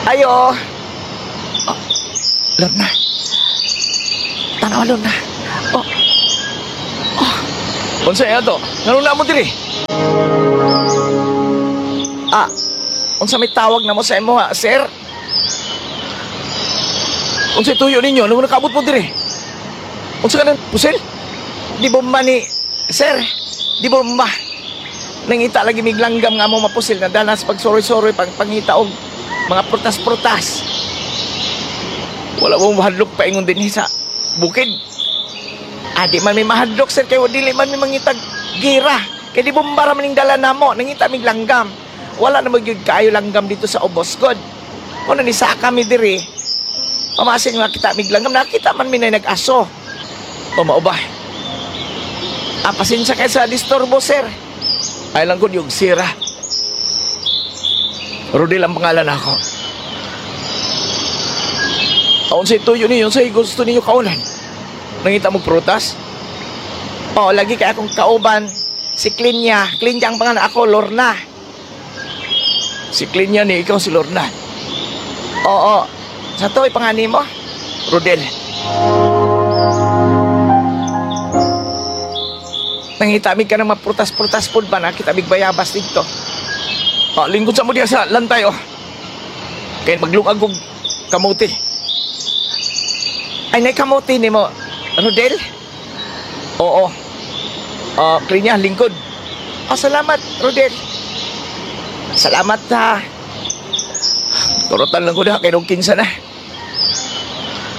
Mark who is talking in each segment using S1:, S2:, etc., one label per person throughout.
S1: Ayo. Oh, Lorna. Tanawa, Lorna. Oh. Oh.
S2: Unsa ato? Nganong naa mo diri?
S1: Ah, unsa may tawag na mo sa imo ha, sir?
S2: Unsa tuyo ninyo? Nung nakaabot mo diri? Unsa ka nang pusil?
S1: Di bomba ni, sir, di bomba. Nangita lagi miglanggam nga mo mapusil na danas pag soroy-soroy pag pangita og mga prutas-prutas.
S2: Wala mo mahadlok paingon dinhi sa bukid.
S1: Ah, di man may mahadlok, sir, kay dili man may mangitag gira. Kay di bomba ra man ning dala namo, nangita mig langgam. Wala na magyud kaayo langgam dito sa Ubos god. Kuno ni sa kami diri. Pamasin nga kita mig langgam, nakita man mi na nag-aso.
S2: O mao ba?
S1: Ah, pasensya kay sa disturbo, sir.
S2: Ay lang ko yung sira. Rodel ang pangalan ako. Aon sa tuyo ninyo, sa gusto ninyo kaunan. Nangita mo prutas?
S1: Oo, lagi kay akong kauban si Klinya. Klinya ang pangalan ako, Lorna.
S2: Si Klinya ni ikaw si Lorna.
S1: Oo. Sa to, ipangani mo?
S2: Rodel.
S1: Nangita mig ka ng mga prutas-prutas pod ba? Nakita mig bayabas dito.
S2: Ah, lingkod sa mo diya sa lantay oh. Kay maglungag og kamote.
S1: Ay, nakamote ni mo, Rodel?
S2: Oo. Ah, Klinya, lingkod.
S1: Oh, salamat, Rodel. Salamat ha.
S2: Turutan lang ko na kay nung kinsa na.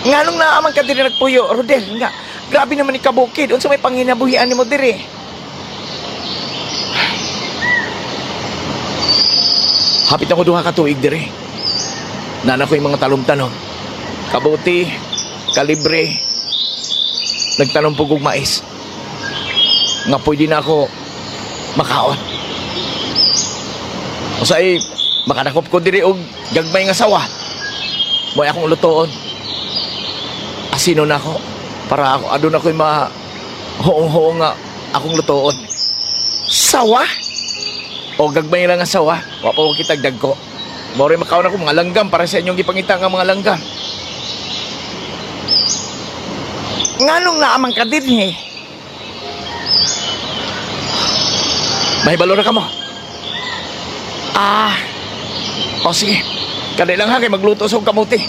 S1: Nganong naaman ka diri nagpuyo, Rodel? Nga, grabe naman ni kabukid. Unsa may panginabuhian nimo diri?
S2: Hapit ako duha ka tuig diri. Nana ko yung mga talom-tanom. Kabuti, kalibre. Nagtanom po kog mais. Nga pwede na ako makaon. Usay, makanakop ko diri og gagmay nga sawa. Mo'y akong lutoon. Asino na ako para ako aduna ko'y ma hoong-hoong nga akong lutoon.
S1: Sawa?
S2: O gagmay lang nga sawa, wa pa ko kitag dagko. Mao rin makaon ako mga langgam para sa inyong gipangita nga mga langgam.
S1: Nganong naaman ka dinhi?
S2: Mahibalo na kamo.
S1: Ah,
S2: O sige, kadai lang ha kay magluto sa kamuti.